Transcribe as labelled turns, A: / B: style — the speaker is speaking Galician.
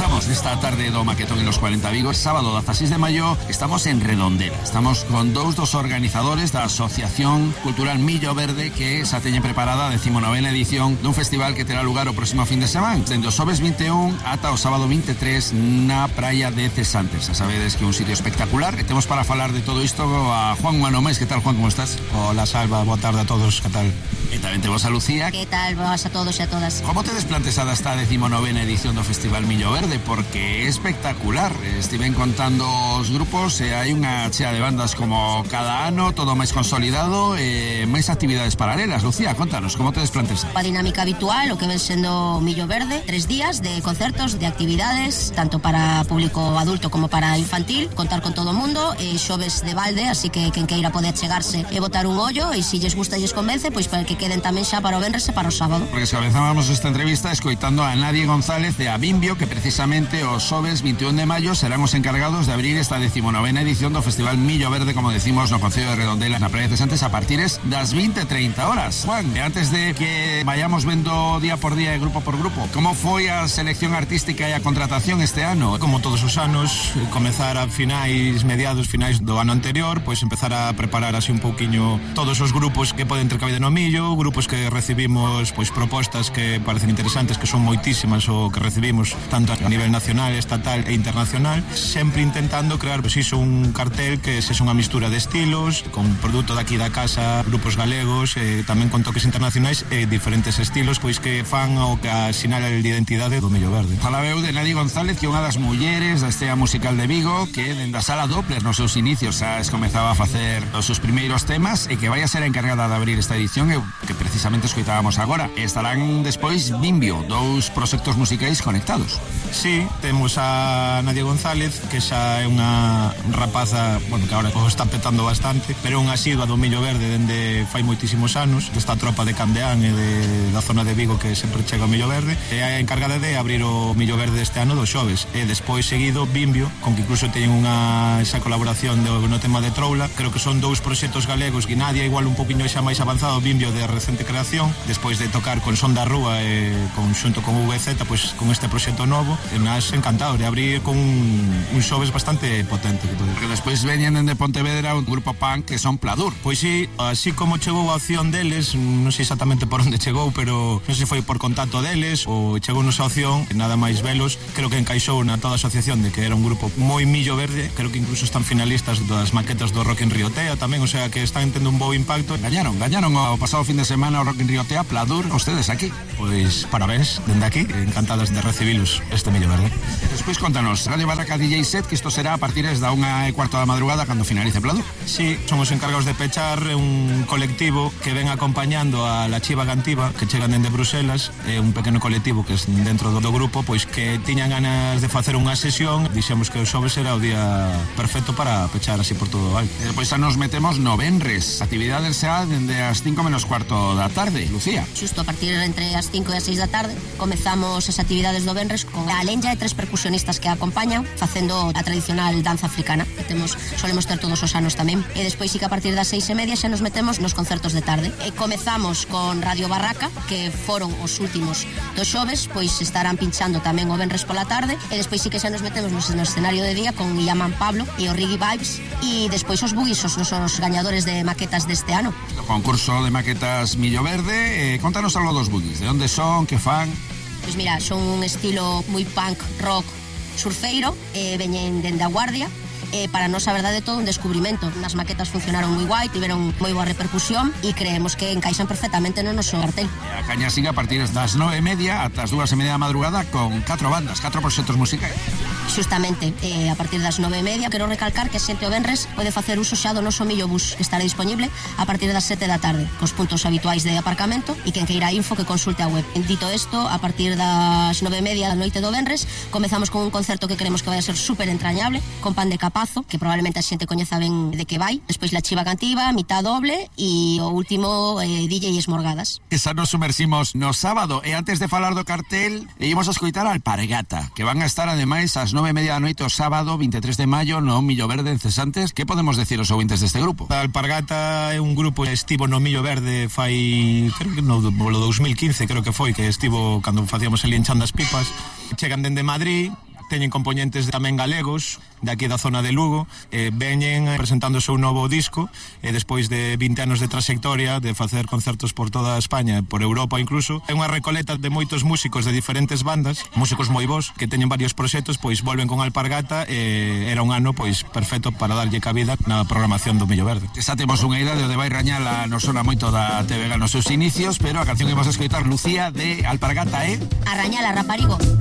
A: Comenzamos esta tarde do Maquetón en los 40 Vigo. Sábado 16 de maio estamos en Redondela. Estamos con dos organizadores da Asociación Cultural Millo Verde, que xa teñen preparada a 19ª edición dun festival que terá lugar o próximo fin de semana, dende o xoves 21 ata o sábado 23 na praia de Cesantes. Xa sabedes que é un sitio espectacular. E temos para falar de todo isto a Juan Manomés. Que tal, Juan, como estás?
B: Hola, Salva, boa tarde a todos, que tal?
A: E tamén temos a Lucía.
C: Que tal, boas a todos e a todas?
A: Como tedes plantexada esta 19ª edición do Festival Millo Verde? Porque é espectacular. Estiven contando os grupos e hai unha chea de bandas como cada ano, todo máis consolidado e máis actividades paralelas. Lucía, contanos, como tedes plantexada?
C: A dinámica habitual, o que ven sendo Millo Verde, 3 días de concertos, de actividades, tanto para público adulto como para infantil, contar con todo o mundo, xoves de balde, así que quen queira pode achegarse e botar un ollo, e se lles gusta e lles convence, pois para que queden tamén xa para o venres e para o sábado.
A: Porque se comenzábamos esta entrevista escoitando a Nadie González de Abimbio, que precisamente os xoves 21 de maio serán os encargados de abrir esta 19ª edición do Festival Millo Verde, como decimos, no Concello de Redondela, na praia de Cesantes, a partir das 20:30 horas. Juan, antes de que vayamos vendo día por día e grupo por grupo, como foi a selección artística e a contratación este ano?
B: Como todos os anos, comezar a mediados finais do ano anterior, pois empezar a preparar así un pouquiño todos os grupos que poden ter cabida no Millo, grupos que recibimos pois propostas que parecen interesantes, que son moitísimas o que recibimos tanto a nivel nacional, estatal e internacional, sempre intentando crear pois iso, un cartel que sexa unha mistura de estilos, con produto daqui da casa, grupos galegos, tamén con toques internacionais e diferentes estilos, pois que fan o que asinala a identidade do Millo Verde.
A: Falabeu de Nadie González, que é unha das mulleres da estea musical de Vigo, que dende a Sala Doppler nos seus inicios xa comezaba a facer os seus primeiros temas e que vai a ser a encargada de abrir esta edición, e que precisamente escoitábamos agora. Estarán despois Bimbio, dous proxectos musicais conectados.
B: Sí, temos a Nadie González, que xa é unha rapaza, bueno, que agora o está petando bastante, pero unha asidua do Millo Verde dende fai moitísimos anos, desta tropa de Candeán e da zona de Vigo que sempre chega ao Millo Verde, e é a encargada de abrir o Millo Verde este ano dos xoves, e despois seguido Bimbio, con que incluso teñen esa colaboración no tema de Troula. Creo que son dous proxectos galegos, que Nadia igual un poquinho xa máis avanzado, Bimbio de recente creación, despois de tocar con Son da Rúa e xunto con VZ, pois con este proxecto novo, e nas encantado de abrir con un xoves bastante potente.
A: Porque despois veñen dende Pontevedra un grupo punk que son Pladur.
B: Pois sí, así como chegou a opción deles, non sei exactamente por onde chegou, pero non sei se foi por contacto deles ou chegou nosa opción, nada máis velos, creo que encaixou na toda a asociación de que era un grupo moi Millo Verde, creo que incluso están finalistas das maquetas do Rock in Rio Tea tamén, o sea que están tendo un bo impacto.
A: Gañaron o pasado fin de semana o Rock in Rio Tea, Pladur, ustedes aquí.
B: Pois parabéns, dende aquí, encantadas de recibilos este Millo Verde.
A: Despois contanos, Radio Barraca DJ Set, que isto será a partir da 1:15 da madrugada cando finalice Pladur.
B: Sí, son os encargados de pechar un colectivo que ven acompañando a La Chiva Gantiva, que chegan dende Bruselas, é un pequeno colectivo que é dentro do grupo, pois que tiñan ganas de facer unha sesión, dixemos que o xoves era o día perfecto para pechar así por todo o alto.
A: E depois xa nos metemos no venres, actividades xa dende as 5:15 da tarde, Lucía.
C: Xusto a partir entre as 5 e as 6 da tarde comezamos as actividades do venres con a Lenja e 3 percusionistas que acompañan facendo a tradicional danza africana que solemos ter todos os anos tamén, e despois sí que a partir das 6:30 xa nos metemos nos concertos de tarde, e comezamos con Radio Barraca, que foron os últimos dos xoves, pois estarán pinchando tamén o venres pola tarde, e despois sí que xa nos metemos no escenario de día con Yaman Pablo e o Riggy Vibes, e despois os Bugis, os nosos gañadores de maquetas deste ano.
A: O concurso de maquetas Millo Verde, contanos algo dos Bugis, de onde son, que fan?
C: Pois mira, son un estilo moi punk, rock, surfeiro, veñen dende a Guardia, para nós a verdade é todo un descubrimento. As maquetas funcionaron moi guai, tiveron moi boa repercusión e creemos que encaixan perfectamente no noso cartel.
A: A caña siga a partir das 9:30 ata as 2:30 da madrugada con 4 bandas, 4 proxectos musicais.
C: Justamente, a partir das 9:30, quero recalcar que a xente o venres pode facer uso xa do noso Millo Bus, que estará disponible a partir das 7 da tarde, cos puntos habituais de aparcamento, e quen queira info que consulte a web. Dito isto, a partir das 9:30 da noite do venres, comezamos con un concerto que queremos que vai a ser super entrañable, con Pan de Capazo, que probablemente a xente coñeza ben de que vai, despois La Chiva Cantiva, mitad doble, e o último DJ Esmorgadas.
A: Esa nos sumersimos no sábado, e antes de falar do cartel, íbamos a escoitar a Alpargata, que van a estar ademais ás 9:30 da noite o sábado 23 de maio no Millo Verde en Cesantes. Que podemos decir os ouvintes deste grupo?
B: A Alpargata é un grupo que estivo no Millo Verde fai, creo que no 2015, creo que foi, que estivo cando facíamos el Enchando as Pipas. Chegan dende Madrid, teñen componentes tamén galegos de aquí da zona de Lugo, veñen presentando o seu novo disco despois de 20 anos de trayectoria, de facer concertos por toda España, por Europa incluso. É unha recoleta de moitos músicos de diferentes bandas, músicos moi bons que teñen varios proxectos, pois volven con Alpargata e era un ano pois perfecto para darlle cabida na programación do Millo Verde.
A: Xa temos unha idea de onde vai Rañala, nos sona moito da TVG nos seus inicios, pero a canción que vamos a escoitar, Lucía, de Alpargata, é
C: A Rañala, raparigo.